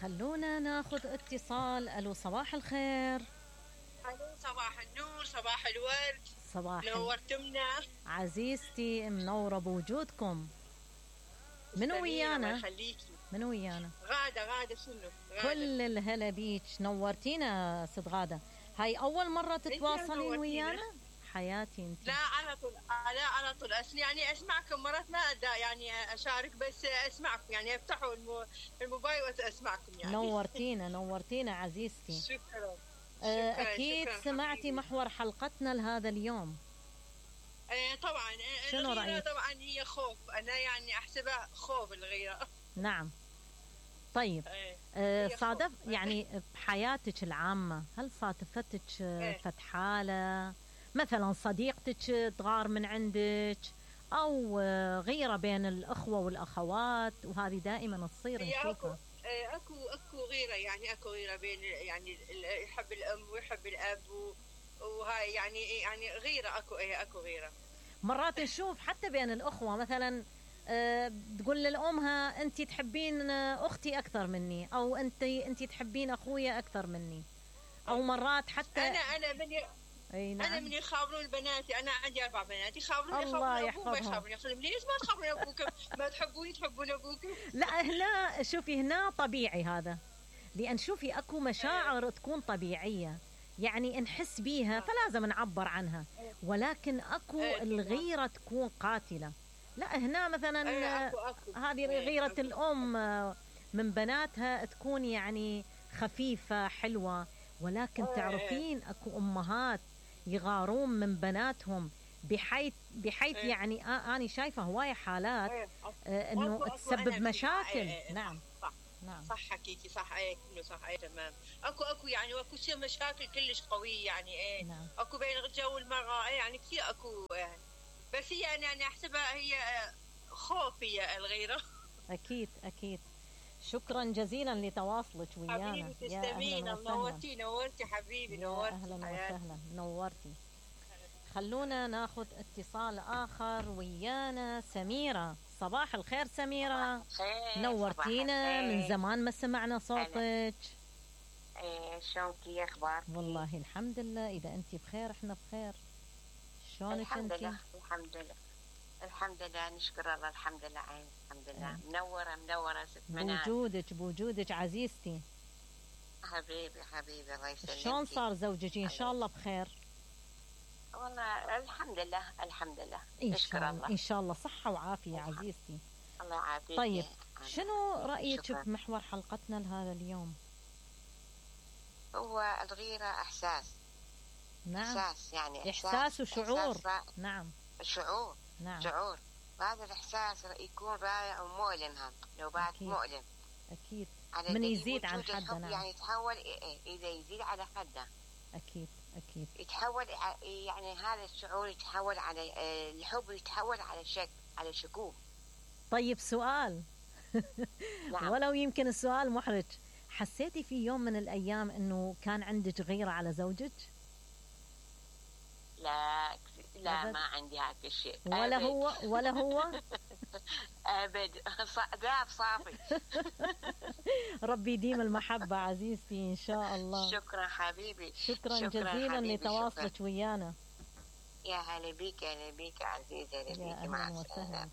خلونا ناخذ اتصال. الو صباح الخير. الو صباح النور، صباح الورد. صباح نورتمنا عزيزتي، منوره بوجودكم. منو ويانا؟ منو ويانا؟ غادة شنو؟ غادة. كل الهلا بيك، نورتينا ست غادة. هاي اول مرة تتواصلين ويانا؟ حياتي انت. لا على طول، لا على طول يعني اسمعكم مرات ما يعني اشارك، بس اسمعكم يعني افتحوا الموبايل واسمعكم يعني. نورتينا عزيزتي. شكرا. اكيد شكرا سمعتي حبيبي. محور حلقتنا لهذا اليوم. طبعا. شنو رأيك؟ طبعا هي خوف، انا يعني احسبها خوف الغيرة. نعم. طيب صادف يعني بحياتك العامة، هل صادفتك فت حالة مثلا صديقتك تغار من عندك، او غيرة بين الاخوة والاخوات، وهذه دائما تصير نشوفها. اكو غيرة، يعني اكو غيرة بين يعني يحب الام ويحب الاب وهاي يعني غيرة، اكو غيرة. مرات نشوف حتى بين الاخوة مثلا تقول للأمها أنت تحبين أختي أكثر مني، أو أنت تحبين أخويا أكثر مني، أو مرات حتى أنا نعم. أنا من يخابرون بناتي، أنا عندي 4 بنات يخابرون الله أبوهم ما يحفظهم. يخابرون، ليش ما تخابرون أبوكم؟ ما تحبون أبوكم؟ لا هنا شوفي، هنا طبيعي هذا، لأن شوفي أكو مشاعر تكون طبيعية يعني نحس بيها فلازم نعبر عنها، ولكن أكو الغيرة تكون قاتلة. لا هنا مثلا هذه غيرة الأم من بناتها تكون يعني خفيفة حلوة، ولكن تعرفين أكو أمهات يغارون من بناتهم بحيث يعني أنا شايفة هواية حالات إنه تسبب مشاكل. نعم نعم صح حكيتي، صح كله صح تمام. اكو يعني اكو شيء مشاكل كلش قوية يعني نعم. اكو بين الرجال والمرأة يعني كثير اكو بس هي يعني احسبها هي خوف، هي الغيرة. أكيد. شكرا جزيلا لتواصلك ويانا. حبيبي تسلمين، نورتي حبيبي، نورتي. أهلا وسهلا، نورتي. خلونا ناخذ اتصال آخر ويانا. سميرة، صباح الخير سميرة. نورتينا، من زمان ما سمعنا صوتك. شلونك؟ اخبارك؟ والله الحمد لله، إذا أنت بخير احنا بخير. شلونك أنت؟ الحمد لله نشكر الله، الحمد لله عين، الحمد لله. منورة ست منال. بوجودك عزيزتي. حبيبي الله يسلمك. شلون صار زوجك؟ إن شاء الله بخير. والله الحمد لله نشكر الله. إن شاء الله صحة وعافية عزيزتي. الله يعافيك. طيب شنو رأيك بمحور حلقتنا لهذا اليوم؟ هو الغيرة إحساس. نعم. إحساس يعني إحساس وشعور. نعم. شعور. نعم. شعور، وهذا الإحساس يكون رائع ومؤلم، هم نوبات مؤلم. أكيد. من يزيد عن حده. نعم. يعني يتحول إذا يزيد على حده. أكيد. يتحول يعني هذا الشعور يتحول على الحب، يتحول على شكوك. طيب سؤال. نعم. ولو يمكن السؤال محرج، حسيتي في يوم من الأيام أنه كان عندك غيرة على زوجك؟ لا ما عندي هذا الشيء. ولا هو أبد. ذاب صافي. ربي يديم المحبة عزيزتي إن شاء الله. شكرا حبيبي. شكرا جزيلا لتواصلك ويانا. يا هلا بيك عزيزي، هلا بيك. مع السلامة.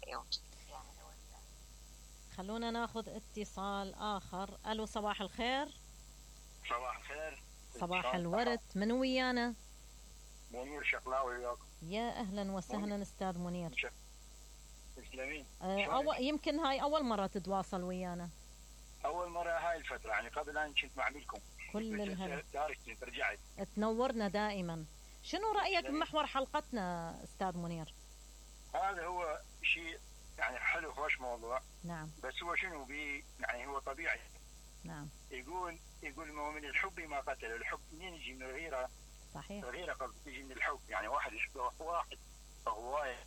خلونا ناخذ اتصال آخر. ألو صباح الخير. صباح الخير. صباح الورد. من ويانا؟ منير شقلاوي وياكم. يا أهلا وسهلا أستاذ منير. تسلمين. يمكن هاي أول مرة تتواصل ويانا. أول مرة هاي الفترة، يعني قبل أن كنت معلكم كل الهلا. رجعت. تنورنا دائما. شنو رأيك بمحور حلقتنا أستاذ منير؟ هذا هو شيء يعني حلو، خوش موضوع. نعم. بس هو شنو يعني هو طبيعي. نعم. يقول من الحب ما قتل. الحب منين يجي؟ من الغيرة. صحيح. الغيرة قد تجي من الحب، يعني واحد يحب واحد هواية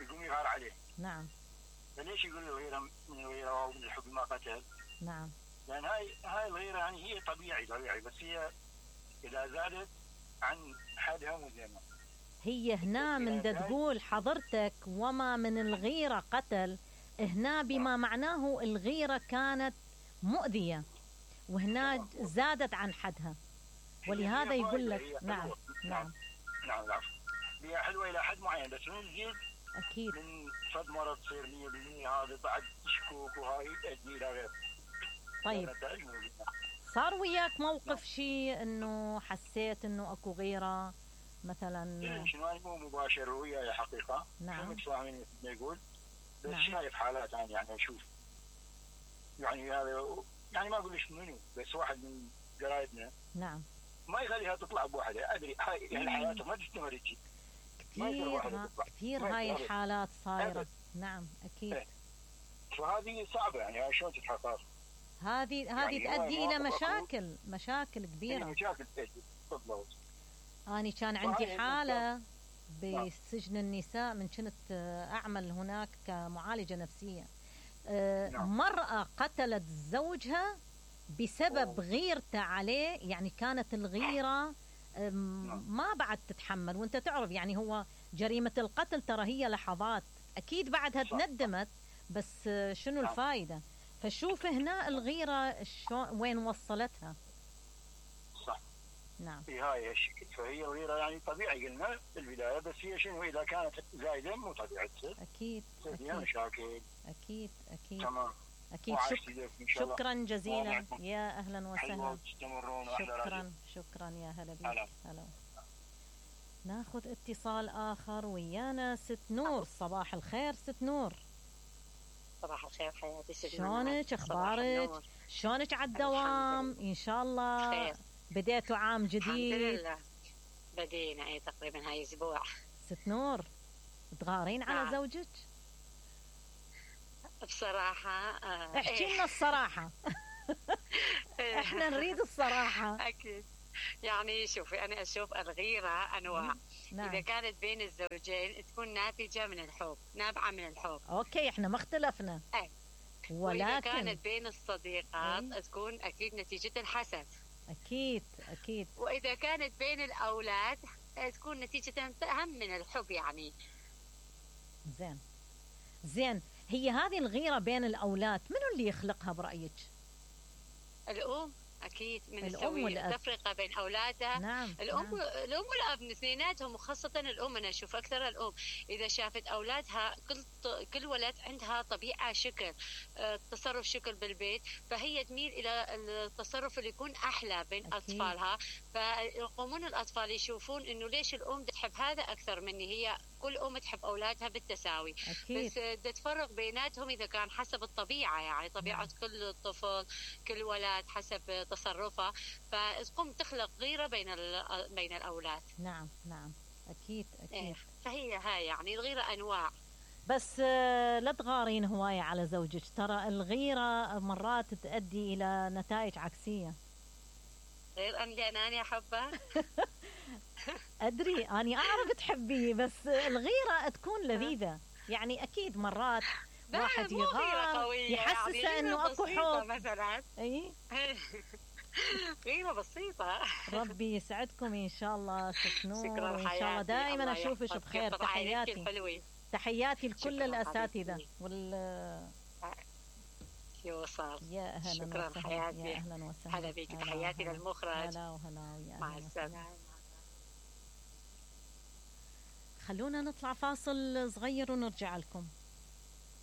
يقوم يغار عليه. نعم. فليش يقول الغيرة من الغيرة ومن الحب ما قتل؟ نعم. لأن هاي الغيرة يعني هي طبيعي، بس هي إذا زادت عن حدها مذمة. هي هنا من تقول حضرتك وما من الغيرة قتل، هنا بما معناه الغيرة كانت مؤذية، وهنا زادت عن حدها، ولهذا يقول لك نعم نعم نعم نعم هي حلوة إلى حد معين، بس من تزيد أكيد من فد مرة تصير 100% هذا بعد شكوك وهاي تؤدي إلى غير. طيب صار وياك موقف شيء انه حسيت انه اكو غيرة مثلا؟ شنو مو مباشر وياي حقيقة، نعم متفاهمين مثل ما يقول، بس نعم. شايف حالات يعني اشوف يعني هذا يعني ما اقول لك منو، بس واحد من قرايبنا نعم ما يخليها تطلع بوحدها، ادري هاي يعني حياتها ما تستمر هيك. كثير هاي الحالات صايرة. نعم اكيد. فهذه صعبة يعني شلون تتحقق؟ هذه يعني تؤدي الى مشاكل كبيرة. مشاكل تؤدي بالضبط. أنا كان عندي حالة بسجن النساء من كنت أعمل هناك كمعالجة نفسية. مرأة قتلت زوجها بسبب غيرته عليه، يعني كانت الغيرة ما بعد تتحمل، وانت تعرف يعني هو جريمة القتل ترى هي لحظات، أكيد بعدها تندمت، بس شنو الفائدة؟ فشوف هنا الغيرة وين وصلتها. صح. نعم. في هاي الشكل، فهي الغيرة يعني طبيعي قلنا في البداية، بس هي شنو إذا كانت زايدة مو طبيعي تصير. أكيد. فيها مشاكل. أكيد. تمام. أكيد. شكرا جزيلا. يا أهلا وسهلا. شكرا يا هلا بك. هلا. ناخذ اتصال آخر ويانا. ست نور، صباح الخير ست نور. صباح الخير حياتي. شلونك؟ اخبارك؟ شلونك على الدوام؟ ان شاء الله خير. بديتوا عام جديد؟ الحمد لله بدينا تقريبا هاي اسبوع. ست نور تغارين على زوجك؟ بصراحة احكي لنا الصراحة. احنا نريد الصراحة. اكيد. يعني شوفي انا اشوف الغيرة انواع. نعم. إذا كانت بين الزوجين تكون ناتجة من الحب، نابعة من الحب. أوكي إحنا ما اختلفنا. ولكن وإذا كانت بين الصديقات تكون أكيد نتيجة الحسد. أكيد. وإذا كانت بين الأولاد تكون نتيجة هم من الحب يعني. زين هي هذه الغيرة بين الأولاد منو اللي يخلقها برأيك؟ الأم. أكيد من تسوي التفرقة بين أولادها. نعم. الأم والأب اثنيناتهم، وخاصة الأم. أنا أشوف أكثر الأم إذا شافت أولادها كل ولد عندها طبيعة شكل تصرف شكل بالبيت، فهي تميل إلى التصرف اللي يكون أحلى بين أطفالها، فيقومون الأطفال يشوفون إنه ليش الأم تحب هذا أكثر مني. هي كل أم تحب أولادها بالتساوي. أكيد. بس تفرق بيناتهم إذا كان حسب الطبيعة، يعني طبيعة كل طفل كل ولد حسب تصرفه، فتقوم تخلق غيرة بين الأولاد. نعم أكيد. فهي هاي يعني الغيرة أنواع. بس لا تغارين هواية على زوجك، ترى الغيرة مرات تؤدي إلى نتائج عكسية. غير أني أحبه. أدري أنا أعرف تحبيه، بس الغيرة تكون لذيذة يعني. أكيد مرات واحد يغار يحسسه يعني إنه أكو حب مثلا. غيرة بسيطة. ربي يسعدكم إن شاء الله ست نور، إن شاء الله دائما أشوفك بخير. تحياتي لكل الأساتذة يوصل. يا أهلا شكرا وسهلا. حياتي. يا أهلا وسهلا. هلا بك. تحياتي للمخرج. هلا مع السلامة. خلونا نطلع فاصل صغير ونرجع لكم.